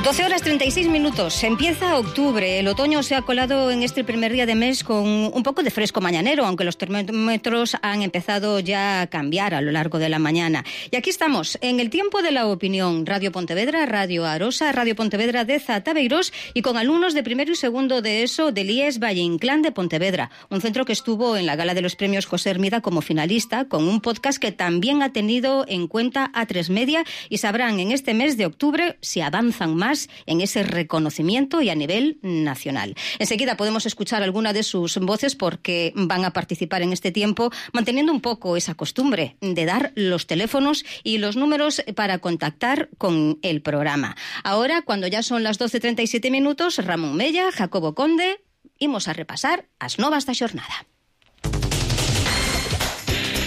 12:36. Empieza octubre. El otoño se ha colado en este primer día de mes con un poco de fresco mañanero, aunque los termómetros han empezado ya a cambiar a lo largo de la mañana. Y aquí estamos, en el tiempo de la opinión. Radio Pontevedra, Radio Arosa, Radio Pontevedra de Zatabeirós y con alumnos de primero y segundo de ESO del IES Valle Inclán de Pontevedra. Un centro que estuvo en la gala de los premios José Hermida como finalista, con un podcast que también ha tenido en cuenta A3 Media, y sabrán en este mes de octubre si avanzan más en ese reconocimiento y a nivel nacional. Enseguida podemos escuchar alguna de sus voces porque van a participar en este tiempo manteniendo un poco esa costumbre de dar los teléfonos y los números para contactar con el programa. Ahora, cuando ya son las 12:37, Ramón Mella, Jacobo Conde, imos a repasar as novas da xornada.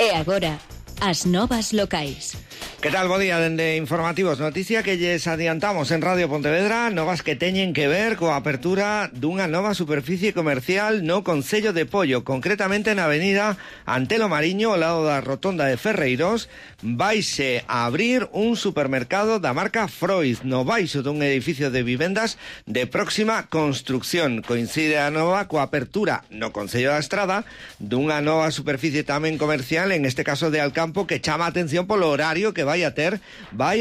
E agora, as novas locais. ¿Qué tal? Bo día, dende Informativos. Noticia que lles adiantamos en Radio Pontevedra, novas que teñen que ver coa apertura dunha nova superficie comercial no Concello de Pollo, concretamente na avenida Antelo Mariño, ao lado da rotonda de Ferreiros. Vaise a abrir un supermercado da marca Freud, no baixo dun edificio de vivendas de próxima construcción. Coincide a nova coa apertura no Concello da Estrada dunha nova superficie tamén comercial, en este caso de Alcampo, que chama a atención polo horario que vai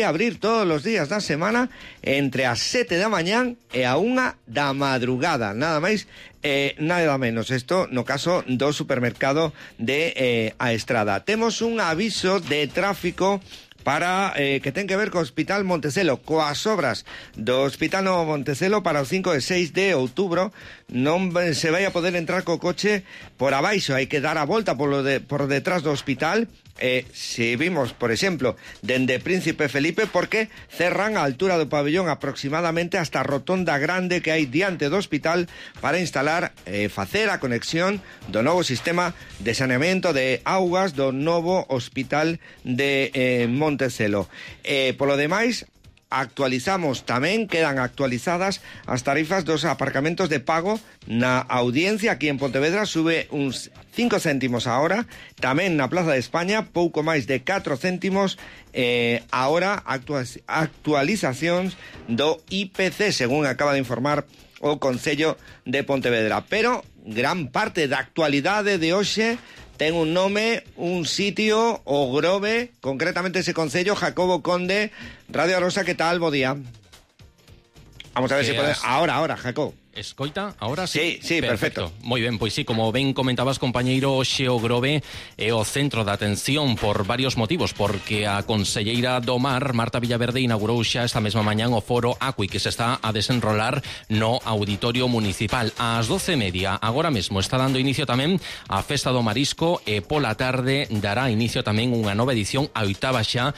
a abrir todos os días da semana entre as 7 da mañán e a 1 da madrugada, nada máis nada menos. Isto no caso do supermercado de A Estrada. Temos un aviso de tráfico para que ten que ver co Hospital Montecelo, coas obras do Hospital Novo Montecelo para o 5 e 6 de outubro. Non se vai a poder entrar co coche por abaixo, hai que dar a volta por detrás do hospital. Se vimos, por exemplo, dende Príncipe Felipe, porque cerran a altura do pabellón aproximadamente hasta a rotonda grande que hai diante do hospital para instalar, facer a conexión do novo sistema de saneamento de augas do novo hospital de Montecelo. Polo demais, actualizamos tamén, quedan actualizadas as tarifas dos aparcamentos de pago na Audiencia aquí en Pontevedra, sube uns 5 céntimos a hora, tamén na Plaza de España pouco máis de 4 céntimos, ahora actualizacións do IPC, según acaba de informar o Concello de Pontevedra. Pero gran parte da actualidade de hoxe ten un nome, un sitio, o Grove, concretamente ese concello. Jacobo Conde, Radio Arosa, ¿qué tal? Bo día. Vamos a ver si puede... Ahora, Jacobo. Escoita, ahora sí? Sí, perfecto. Moi ben, pois sí, como ben comentabas, compañeiro, hoxe o Grove é o centro de atención por varios motivos, porque a conselleira do Mar, Marta Villaverde, inaugurou xa esta mesma mañán o foro Acui, que se está a desenrolar no Auditorio Municipal. Ás 12:30, agora mesmo, está dando inicio tamén a Festa do Marisco e pola tarde dará inicio tamén unha nova edición, a oitava xa,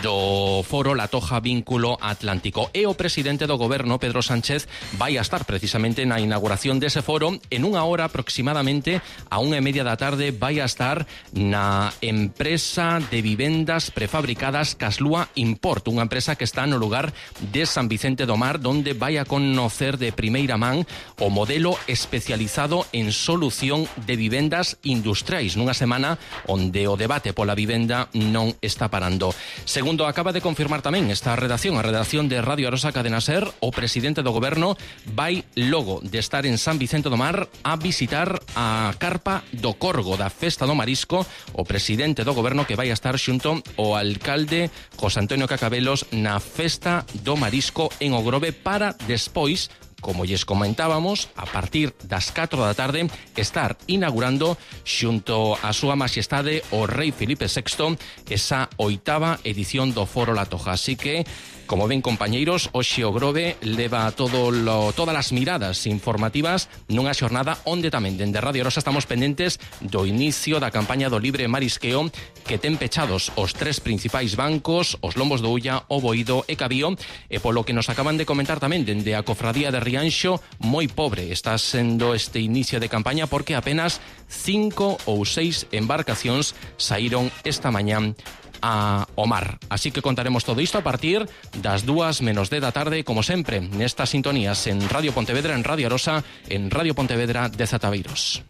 do foro La Toja Vínculo Atlántico. E o presidente do Goberno, Pedro Sánchez, vai a estar precisamente na inauguración dese foro. En unha hora aproximadamente, a 1:30 da tarde, vai a estar na empresa de vivendas prefabricadas Caslúa Import, unha empresa que está no lugar de San Vicente do Mar, donde vai a conocer de primeira man o modelo especializado en solución de vivendas industriais, nunha semana onde o debate pola vivenda non está parando. Segundo acaba de confirmar tamén esta redacción, a redacción de Radio Arosa Cadena Ser, o presidente do Goberno vai logo de estar en San Vicente do Mar a visitar a carpa do Corgo da Festa do Marisco, o presidente do Goberno que vai a estar xunto ao alcalde José Antonio Cacabelos na Festa do Marisco en O Grove, para despois, como lles comentábamos, a partir das 4 da tarde, estar inaugurando xunto a súa majestade o rei Filipe VI esa oitava edición do Foro La Toja. Así que, como ven, compañeiros, hoxe o Grove leva todas as miradas informativas nunha xornada onde tamén dende Radio Arosa estamos pendentes do inicio da campaña do libre marisqueo, que ten pechados os 3 principais bancos, os Lombos do Ulla, o Boído e Cabío, e polo que nos acaban de comentar tamén dende a cofradía de Rianxo, moi pobre está sendo este inicio de campaña, porque apenas 5 ou 6 embarcacións saíron esta mañán ao mar. Así que contaremos todo isto a partir das 2:10 da tarde, como sempre, nestas sintonías en Radio Pontevedra, en Radio Arosa, en Radio Pontevedra de Zatabeirós.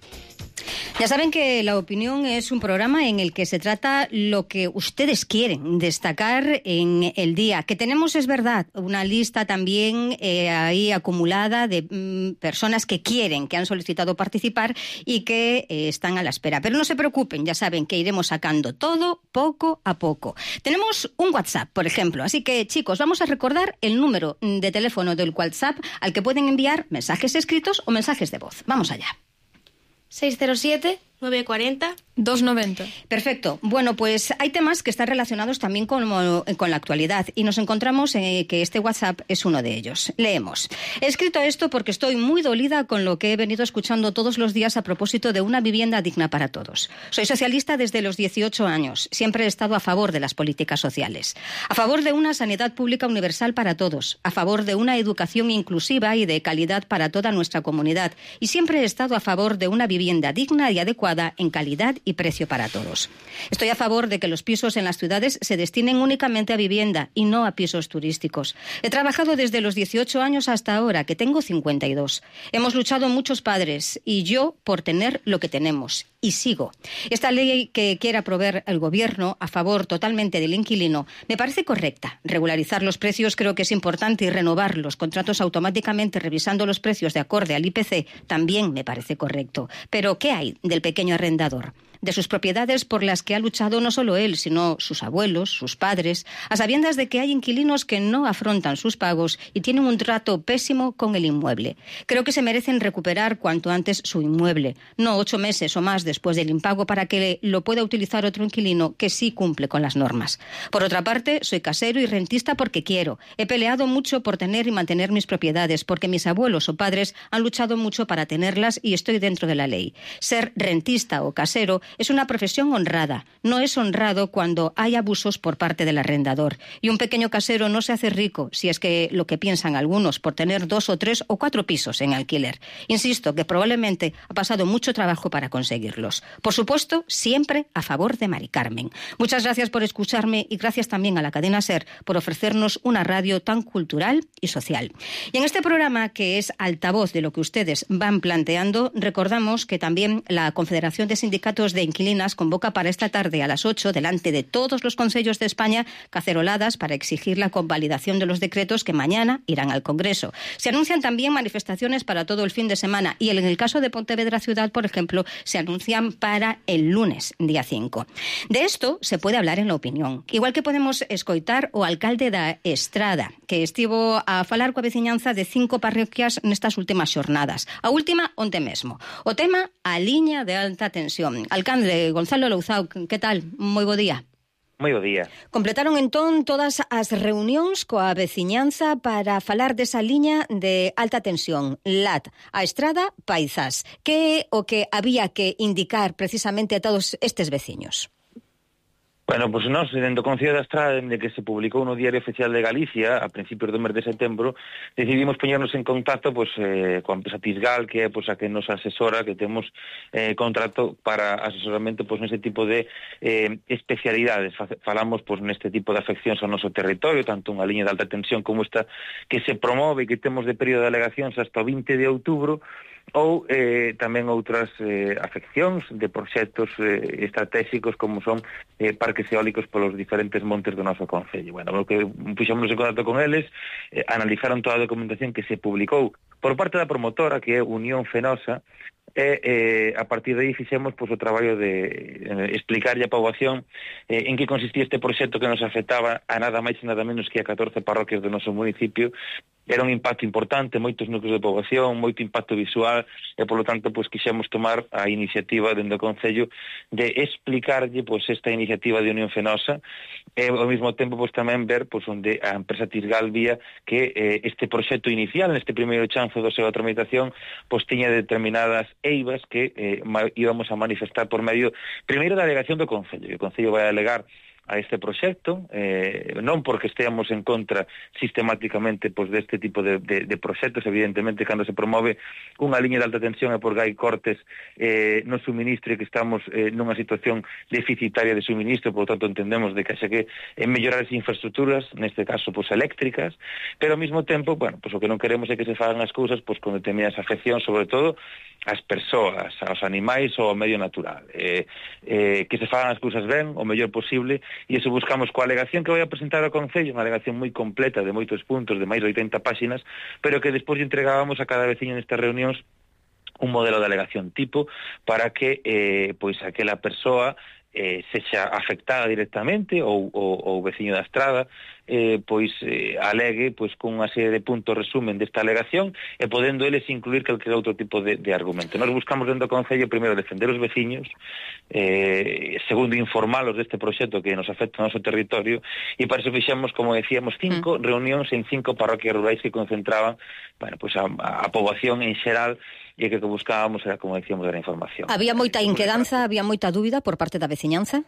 Ya saben que La Opinión es un programa en el que se trata lo que ustedes quieren destacar en el día. Que tenemos, es verdad, una lista también ahí acumulada de personas que quieren, que han solicitado participar y que están a la espera. Pero no se preocupen, ya saben que iremos sacando todo poco a poco. Tenemos un WhatsApp, por ejemplo. Así que, chicos, vamos a recordar el número de teléfono del WhatsApp al que pueden enviar mensajes escritos o mensajes de voz. Vamos allá. 607-940-290. Perfecto. Bueno, pues hay temas que están relacionados también con la actualidad y nos encontramos que este WhatsApp es uno de ellos. Leemos. He escrito esto porque estoy muy dolida con lo que he venido escuchando todos los días a propósito de una vivienda digna para todos. Soy socialista desde los 18 años. Siempre he estado a favor de las políticas sociales. A favor de una sanidad pública universal para todos. A favor de una educación inclusiva y de calidad para toda nuestra comunidad. Y siempre he estado a favor de una vivienda digna y adecuada en calidad y precio para todos. Estoy a favor de que los pisos en las ciudades se destinen únicamente a vivienda y no a pisos turísticos. He trabajado desde los 18 años hasta ahora, que tengo 52. Hemos luchado muchos padres y yo por tener lo que tenemos. Y sigo. Esta ley que quiere aprobar el Gobierno a favor totalmente del inquilino me parece correcta. Regularizar los precios creo que es importante y renovar los contratos automáticamente revisando los precios de acorde al IPC también me parece correcto. Pero ¿qué hay del pequeño arrendador? De sus propiedades por las que ha luchado no solo él, sino sus abuelos, sus padres, a sabiendas de que hay inquilinos que no afrontan sus pagos y tienen un trato pésimo con el inmueble. Creo que se merecen recuperar cuanto antes su inmueble, no 8 meses o más después del impago para que lo pueda utilizar otro inquilino que sí cumple con las normas. Por otra parte, soy casero y rentista porque quiero. He peleado mucho por tener y mantener mis propiedades, porque mis abuelos o padres han luchado mucho para tenerlas y estoy dentro de la ley. Ser rentista o casero es una profesión honrada. No es honrado cuando hay abusos por parte del arrendador. Y un pequeño casero no se hace rico, si es que lo que piensan algunos, por tener 2 o 3 o 4 pisos en alquiler. Insisto que probablemente ha pasado mucho trabajo para conseguirlos. Por supuesto, siempre a favor de Mari Carmen. Muchas gracias por escucharme y gracias también a la cadena SER por ofrecernos una radio tan cultural y social. Y en este programa, que es altavoz de lo que ustedes van planteando, recordamos que también la Confederación de Sindicatos de Inquilinas convoca para esta tarde a las 8, delante de todos los concellos de España, caceroladas para exigir la convalidación de los decretos que mañana irán al Congreso. Se anuncian también manifestaciones para todo el fin de semana y en el caso de Pontevedra Ciudad, por ejemplo, se anuncian para el lunes, día 5. De esto se puede hablar en La Opinión. Igual que podemos escoitar o alcalde da Estrada, que estivo a falar coa veciñanza de 5 parroquias nestas últimas xornadas. A última, onte mesmo. O tema, a liña de alta tensión. Alcalde Gonzalo Louzao, que tal? Moi bo día. Moi bo día. Completaron entón todas as reunións coa veciñanza para falar desa liña de alta tensión, LAT, a Estrada Paizás. Que é o que había que indicar precisamente a todos estes veciños? Bueno, pois nós, dentro do Concello da Estrada, dende que se publicou no Diario Oficial de Galicia, a principios do mes de setembro, decidimos poñernos en contacto coa empresa Tisgal, que é a que nos asesora, que temos contrato para asesoramento neste tipo de especialidades. Falamos neste tipo de afeccións ao noso territorio, tanto unha liña de alta tensión como esta que se promove e que temos de período de alegacións hasta o 20 de outubro, ou tamén outras afeccións de proxectos estratégicos como son parques eólicos polos diferentes montes do noso concello. Bueno, o que puxémonos en contacto con eles, analizaron toda a documentación que se publicou por parte da promotora, que é Unión Fenosa, e a partir de aí fixemos o traballo de explicarlle a poboación en que consistía este proxecto que nos afectaba a nada máis e nada menos que a 14 parroquias do noso municipio. Era un impacto importante, moitos núcleos de poboación, moito impacto visual, e polo tanto quixemos tomar a iniciativa dentro do Concello de explicarlle esta iniciativa de Unión Fenosa e ao mesmo tempo tamén ver onde a empresa Tisgal vía que este proxecto inicial, neste primeiro chanzo da súa tramitación, tiña determinadas eivas que íbamos a manifestar por medio primeiro da alegación do Concello. O Concello vai alegar a este proxecto, non porque esteamos en contra sistemáticamente pois, deste tipo de proxectos. Evidentemente, cando se promove unha liña de alta tensión é porque hai cortes no suministro e que estamos nunha situación deficitaria de suministro, por tanto entendemos de que xa que mellorar as infraestructuras, neste caso pois, eléctricas, pero ao mesmo tempo, bueno, pois, o que non queremos é que se fagan as cousas pois, con determinadas afeccións, sobre todo ás persoas, aos animais ou ao medio natural. Que se fagan as cousas ben, o mellor posible, e iso buscamos coa alegación que vai a presentar ao Concello, unha alegación moi completa de moitos puntos, de máis de 80 páxinas, pero que despois entregábamos a cada veciño nestas reunións un modelo de alegación tipo para que pois aquela persoa sexa afectada directamente ou veciño da estrada pois alegue pois con unha serie de puntos resumen desta alegación e podendo eles incluir calquer outro tipo de argumento. Nós buscamos dentro do Concello primeiro defender os veciños, segundo informalos deste proxecto que nos afecta ao noso territorio, e para iso fixemos, como decíamos, 5 reunións en 5 parroquias rurais que concentraban, bueno, pois a poboación en xeral, e que buscábamos era, como decíamos, era información. Había moita inquedanza, había moita dúbida por parte da veciñanza?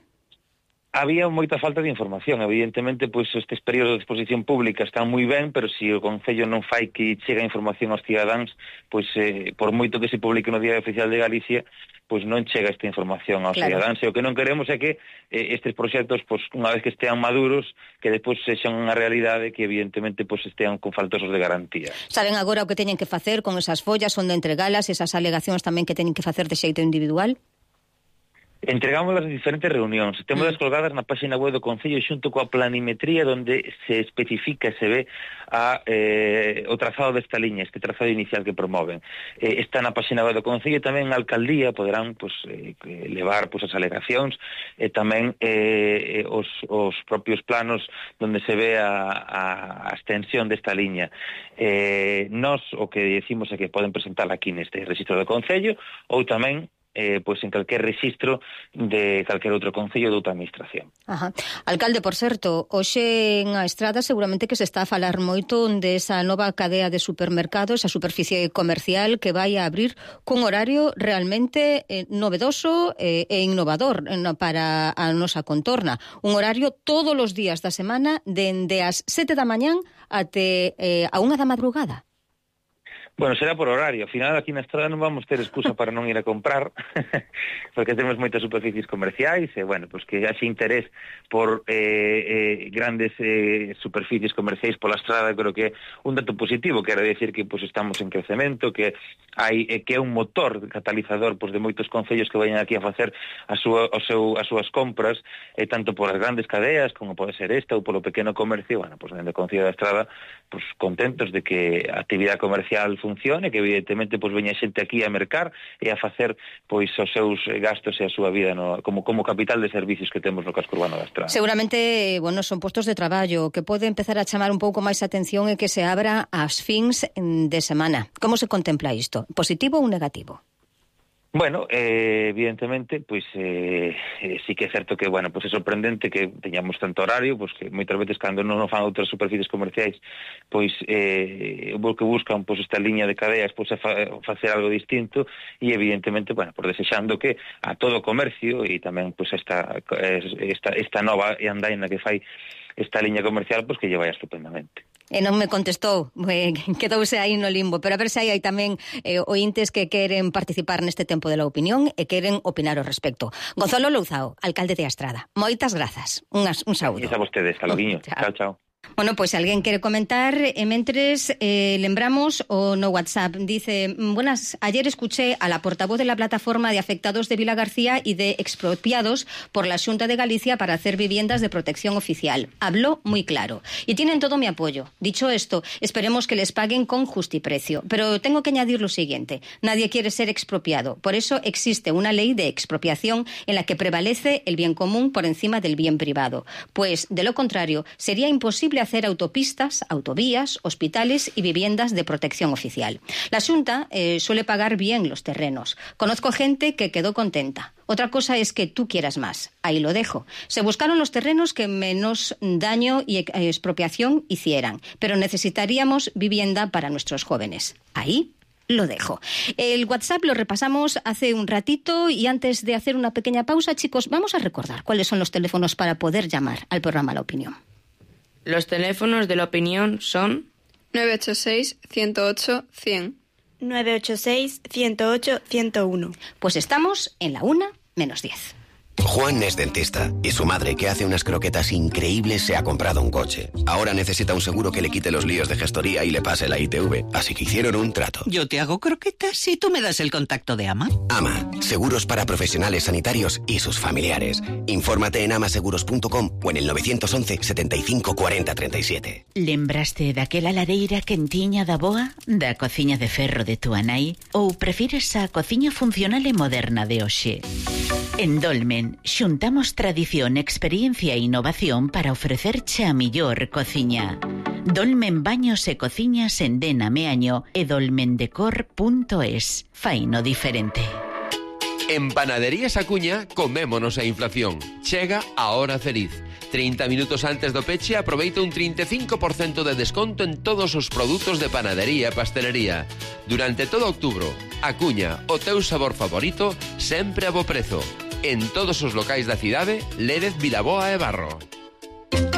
Había moita falta de información. Evidentemente, pois estes períodos de exposición pública están moi ben, pero se o Concello non fai que chega a información aos cidadáns, pois por moito que se publique no Diario Oficial de Galicia, pois non chega esta información aos cidadáns. E o que non queremos é que estes proxectos, pois unha vez que estean maduros, que depois sexan unha realidade que evidentemente pois estean con faltosos de garantía. Saben agora o que teñen que facer con esas follas, onde entregalas, esas alegacións tamén que teñen que facer de xeito individual? Entregamos as diferentes reunións, temos colgadas na página web do Concello xunto coa planimetría onde se especifica, se ve o trazado desta liña, este trazado inicial que promoven. Está na página web do Concello e tamén a Alcaldía poderán pues, levar pues, as alegacións e tamén os propios planos onde se ve a extensión desta liña. Nós o que decimos é que poden presentar aquí neste registro do Concello ou tamén pois en calquer registro de calquer outro concello de outra administración. Ajá. Alcalde, por certo, hoxe en a Estrada seguramente que se está a falar moito desa nova cadea de supermercados, a superficie comercial que vai a abrir cun horario realmente novedoso e innovador para a nosa contorna. Un horario todos os días da semana dende as 7 da mañán até a 1 da madrugada. Bueno, será por horario. Ao final, aquí na Estrada non vamos ter excusa para non ir a comprar, porque temos moitas superficies comerciais, e, bueno, pues que haxe interés por grandes superficies comerciais pola Estrada, creo que é un dato positivo, quero decir que pues, estamos en crecemento, que é un motor catalizador pues, de moitos concellos que vayan aquí a facer as súas compras, tanto por as grandes cadeas, como pode ser esta, ou polo pequeno comercio. Bueno, pues, dentro do Concello da Estrada, pues, contentos de que a actividade comercial funcione, que evidentemente pois veña xente aquí a mercar e a facer pois os seus gastos e a súa vida como capital de servicios que temos no casco urbano da Estrada. Seguramente, bueno, son postos de traballo que pode empezar a chamar un pouco máis a atención e que se abra ás fins de semana. Como se contempla isto? Positivo ou negativo? Bueno, evidentemente, pois sí que é certo que, bueno, pois é sorprendente que teñamos tanto horario, pois que moitas veces cando non fan outras superficies comerciais, pois o que buscan pois esta liña de cadeas, pois é facer algo distinto e evidentemente, bueno, por desexando que a todo o comercio e tamén pois esta nova andaina que fai esta liña comercial, pois que lle vai estupendamente. E non me contestou, quedouse aí no limbo, pero a ver se hai tamén ointes que queren participar neste tempo de la opinión e queren opinar ao respecto. Gonzalo Louzao, alcalde de Estrada, moitas grazas, un saúdo. E a vostedes, hasta loguiño. Chao, chao. Bueno, pois alguén quere comentar, mentres lembramos o no WhatsApp, dice, buenas, ayer escuché a la portavoz de la plataforma de afectados de Vila García y de expropiados por la Xunta de Galicia para hacer viviendas de protección oficial. Habló muy claro y tienen todo mi apoyo. Dicho esto, esperemos que les paguen con justiprecio. Pero tengo que añadir lo siguiente, nadie quiere ser expropiado, por eso existe una ley de expropiación en la que prevalece el bien común por encima del bien privado, pues de lo contrario sería imposible hacer autopistas, autovías, hospitales y viviendas de protección oficial. La Xunta suele pagar bien los terrenos. Conozco gente que quedó contenta. Otra cosa es que tú quieras más. Ahí lo dejo. Se buscaron los terrenos que menos daño y expropiación hicieran, pero necesitaríamos vivienda para nuestros jóvenes. Ahí lo dejo. El WhatsApp lo repasamos hace un ratito y antes de hacer una pequeña pausa, chicos, vamos a recordar cuáles son los teléfonos para poder llamar al programa La Opinión. Los teléfonos de La Opinión son 986-108-100. 986-108-101. Pues estamos en la 1:10. Juan es dentista y su madre, que hace unas croquetas increíbles, se ha comprado un coche. Ahora necesita un seguro que le quite los líos de gestoría y le pase la ITV, así que hicieron un trato. Yo te hago croquetas y tú me das el contacto de AMA. AMA, seguros para profesionales sanitarios y sus familiares. Infórmate en amaseguros.com o en el 911 75 40 37. Lembraste daquela lareira quentiña da boa, da cociña de ferro de túa nai, ou prefires a cociña funcional e moderna de hoxe? En Dolmen xuntamos tradición, experiencia e innovación para ofrecerche a millor cociña. Dolmen Baños e Cociñas en Dena Meaño e dolmendecor.es. Faino diferente. En Panaderías Acuña comémonos a inflación. Chega a hora feliz. 30 minutos antes do peche aproveita un 35% de desconto en todos os produtos de panadería e pastelería. Durante todo outubro, Acuña, o teu sabor favorito, sempre a bo prezo. En todos os locais da cidade, Lérez, Vilaboa e Barro.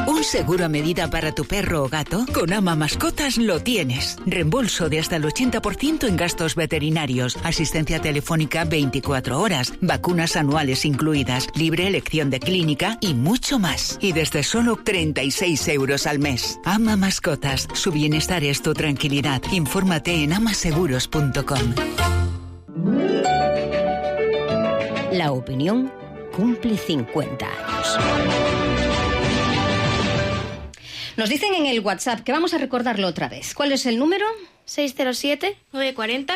¿Un seguro a medida para tu perro o gato? Con Ama Mascotas lo tienes. Reembolso de hasta el 80% en gastos veterinarios, asistencia telefónica 24 horas, vacunas anuales incluidas, libre elección de clínica y mucho más. Y desde solo 36 euros al mes. Ama Mascotas, su bienestar es tu tranquilidad. Infórmate en amaseguros.com. La Opinión cumple 50 años. Nos dicen en el WhatsApp que vamos a recordarlo otra vez. ¿Cuál es el número? 607-940.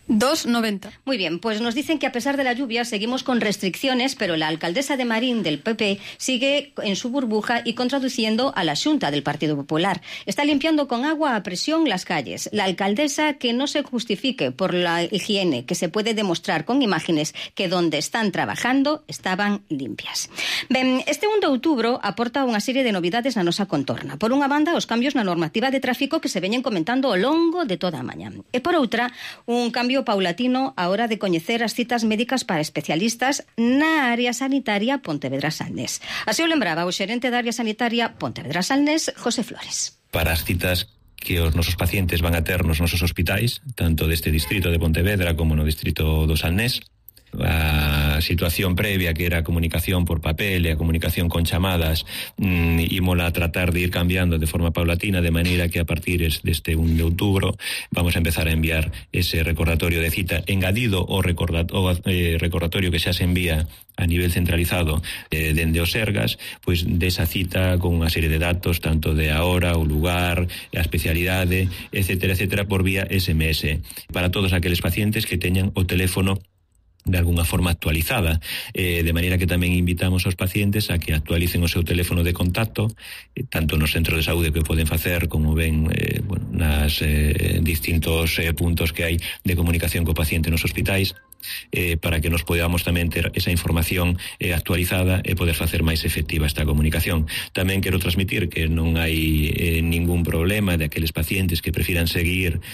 290. Muy bien, pues nos dicen que a pesar de la lluvia seguimos con restricciones, pero la alcaldesa de Marín del PP sigue en su burbuja y contraduciendo a la Xunta del Partido Popular. Está limpiando con agua a presión las calles. La alcaldesa que no se justifique por la higiene, que se puede demostrar con imágenes que donde están trabajando estaban limpias. Ben, este 1 de outubro aporta unha serie de novidades na nosa contorna. Por unha banda, os cambios na normativa de tráfico que se veñen comentando ao longo de toda a mañá. E por outra, un cambio paulatino a hora de coñecer as citas médicas para especialistas na área sanitaria Pontevedra-Salnés. Así o lembraba o xerente da área sanitaria Pontevedra-Salnés, José Flores. Para as citas que os nosos pacientes van a ter nos nosos hospitais, tanto deste distrito de Pontevedra como no distrito do Salnés, a situación previa, que era a comunicación por papel e a comunicación con chamadas, ímola a tratar de ir cambiando de forma paulatina, de maneira que a partir deste 1 de outubro vamos a empezar a enviar ese recordatorio de cita, engadido o recordatorio que xa se envía a nivel centralizado dende os Sergas, pois desa cita con unha serie de datos, tanto de a hora, o lugar, a especialidade, etcétera, por vía SMS, para todos aqueles pacientes que teñan o teléfono de alguna forma actualizada, de maneira que tamén invitamos aos pacientes a que actualicen o seu teléfono de contacto, tanto nos centros de saúde que poden facer, como ven nas distintos puntos que hai de comunicación co paciente nos hospitais, para que nos podamos tamén ter esa información actualizada e poder facer máis efectiva esta comunicación. Tamén quero transmitir que non hai ningún problema de aqueles pacientes que prefiran seguir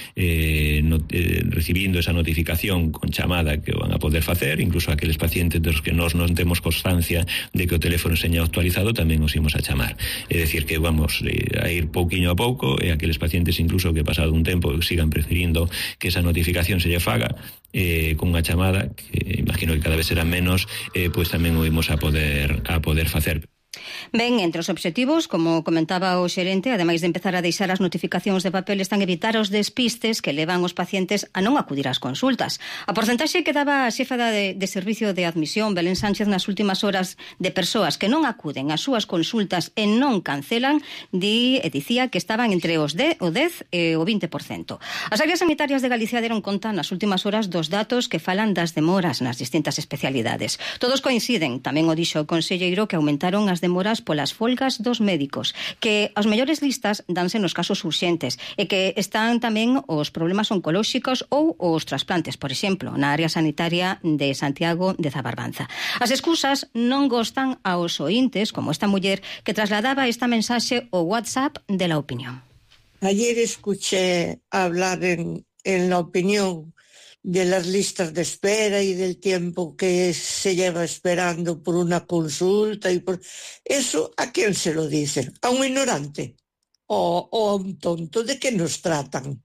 recibindo esa notificación con chamada, que van a poder facer, incluso aqueles pacientes dos que nós non temos constancia de que o teléfono seña actualizado, tamén os imos a chamar. É dicir, que vamos a ir pouquiño a pouco, e aqueles pacientes incluso que pasado un tempo sigan preferindo que esa notificación se lle faga con unha chamada, que imagino que cada vez será menos, pois tamén o imos a poder facer. Ben, entre os obxectivos, como comentaba o xerente, ademais de empezar a deixar as notificacións de papel, están evitar os despistes que levan os pacientes a non acudir ás consultas. A porcentaxe que daba a xefa de servicio de admisión, Belén Sánchez, nas últimas horas de persoas que non acuden ás súas consultas e non cancelan, dicía que estaban entre o 10 e o 20%. As áreas sanitarias de Galicia deron conta nas últimas horas dos datos que falan das demoras nas distintas especialidades. Todos coinciden, tamén o dixo o conselleiro, que aumentaron as demoras polas folgas dos médicos, que as mellores listas danse nos casos urxentes e que están tamén os problemas oncolóxicos ou os trasplantes, por exemplo, na área sanitaria de Santiago de Zabarbanza. As excusas non gostan aos oíntes, como esta muller que trasladaba esta mensaxe ao WhatsApp de La Opinión. Ayer escuché hablar en en la opinión de las listas de espera y del tiempo que se lleva esperando por una consulta y por eso, ¿a quién se lo dicen? ¿A un ignorante? ¿O a un tonto? ¿De qué nos tratan?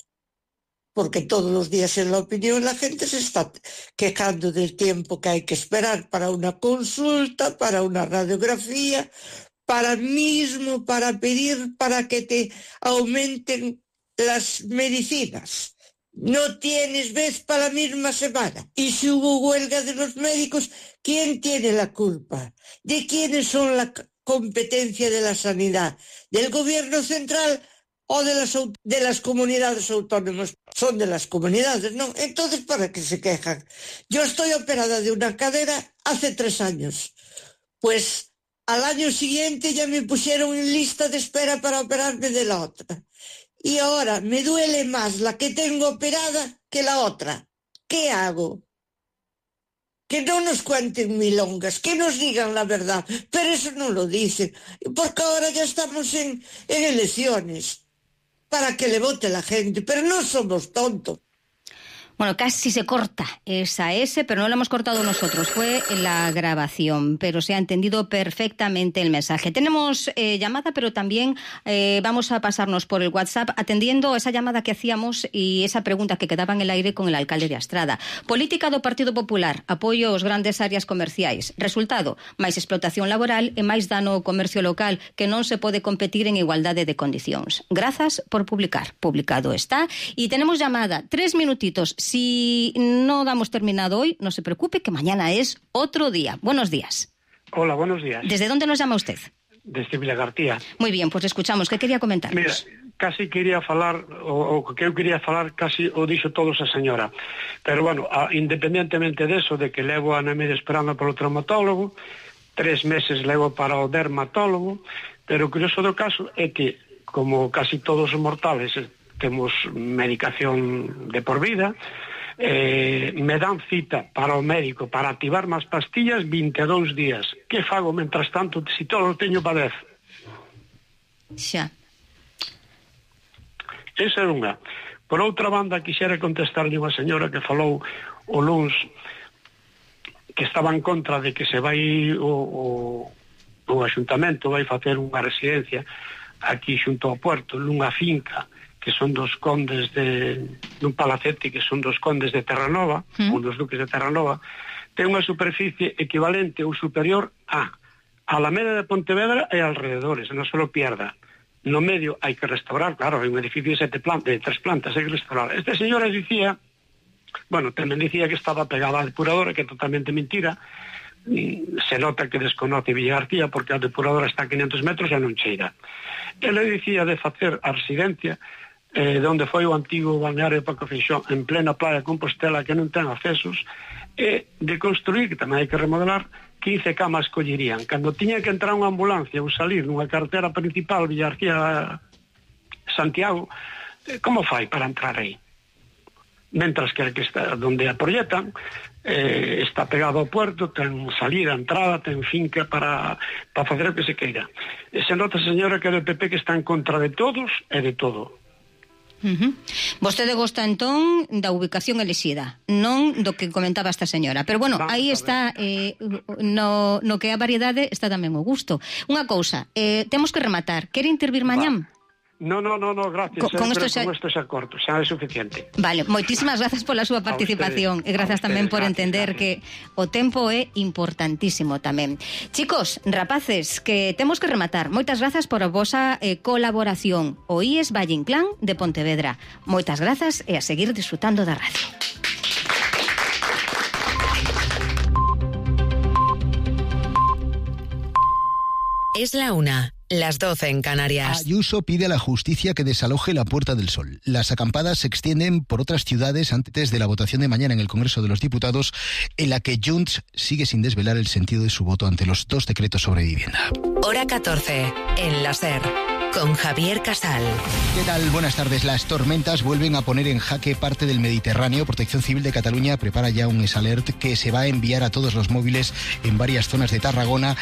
Porque todos los días en la opinión la gente se está quejando del tiempo que hay que esperar para una consulta, para una radiografía, para pedir para que te aumenten las medicinas. No tienes vez para la misma semana. Y si hubo huelga de los médicos, ¿quién tiene la culpa? ¿De quiénes son la competencia de la sanidad? ¿Del gobierno central o de las comunidades autónomas? Son de las comunidades, ¿no? Entonces, ¿para qué se quejan? Yo estoy operada de una cadera hace 3 años. Pues al año siguiente ya me pusieron en lista de espera para operarme de la otra. Y ahora me duele más la que tengo operada que la otra. ¿Qué hago? Que no nos cuenten milongas, que nos digan la verdad, pero eso no lo dicen, porque ahora ya estamos en elecciones, para que le vote la gente, pero no somos tontos. Bueno, casi se corta esa S, pero no la hemos cortado nosotros, fue la grabación, pero se ha entendido perfectamente el mensaje. Tenemos llamada, pero también vamos a pasarnos por el WhatsApp atendiendo esa llamada que hacíamos y esa pregunta que quedaba en el aire con el alcalde de Astrada. Política do Partido Popular, apoio aos grandes áreas comerciais. Resultado, máis explotación laboral e máis dano ao comercio local que non se pode competir en igualdade de condicións. Grazas por publicar. Publicado está. Y tenemos llamada, 3 minutitos. Si no damos terminado hoy, no se preocupe, que mañana es otro día. Buenos días. Hola, buenos días. ¿Desde dónde nos llama usted? Desde Vilagarcía. Muy bien, pues escuchamos. ¿Qué quería comentarnos? Mira, casi quería falar, o que eu quería falar, casi o dixo todo esa señora. Pero bueno, independentemente de eso, de que levo a Nemede esperando polo traumatólogo, 3 meses levo para o dermatólogo, pero o curioso do caso é que, como casi todos os mortales temos medicación de por vida, me dan cita para o médico para activar máis pastillas 22 días. Que fago mentras tanto se todo o teño para 10? Xa. Esa é unha. Por outra banda, quixera contestarlle unha señora que falou o luns que estaba en contra de que se vai o Axuntamento vai facer unha residencia aquí xunto ao puerto, nunha finca que son dos condes dun palacete que son dos condes de Terranova, ou dos duques de Terranova, ten unha superficie equivalente ou superior a Alameda de Pontevedra e alrededores, non se lo pierda. No medio hai que restaurar, claro, hai un edificio de 3 plantas, hai que restaurar. Este señor dicía, bueno, tamén dicía que estaba pegada á depuradora, que é totalmente mentira. Se nota que desconoce Villagarcía porque a depuradora está a 500 metros e non cheira. Ele dicía de facer a residencia de onde foi o antigo balneario de Paco Feixó, en plena playa de Compostela, que non ten accesos, e de construir, que tamén hai que remodelar, 15 camas collerían. Cando tiña que entrar unha ambulancia ou salir nunha carretera principal Villagarcía-Santiago, como fai para entrar aí? Mentras que está donde a proyectan está pegado ao puerto, ten salida, entrada, ten finca para facer o que se queira. Se nota, señora, que é do PP que está en contra de todos e de todo. Vostede gosta entón da ubicación elixida, non do que comentaba esta señora, pero bueno, aí está no que é a variedade está tamén o gusto. Unha cousa, temos que rematar. Quere intervir mañán? No, gracias. Con isto xa corto, xa é suficiente. Vale, moitísimas grazas pola súa participación e grazas tamén por entender que o tempo é importantísimo tamén. Chicos, rapaces, que temos que rematar. Moitas grazas por a vosa colaboración. O IES Valle Inclán de Pontevedra. Moitas grazas e a seguir disfrutando da radio. Es la 1. Las 12 en Canarias. Ayuso pide a la justicia que desaloje la Puerta del Sol. Las acampadas se extienden por otras ciudades antes de la votación de mañana en el Congreso de los Diputados, en la que Junts sigue sin desvelar el sentido de su voto ante los 2 decretos sobre vivienda. Hora 14, en la SER, con Javier Casal. ¿Qué tal? Buenas tardes. Las tormentas vuelven a poner en jaque parte del Mediterráneo. Protección Civil de Cataluña prepara ya un SALERT que se va a enviar a todos los móviles en varias zonas de Tarragona.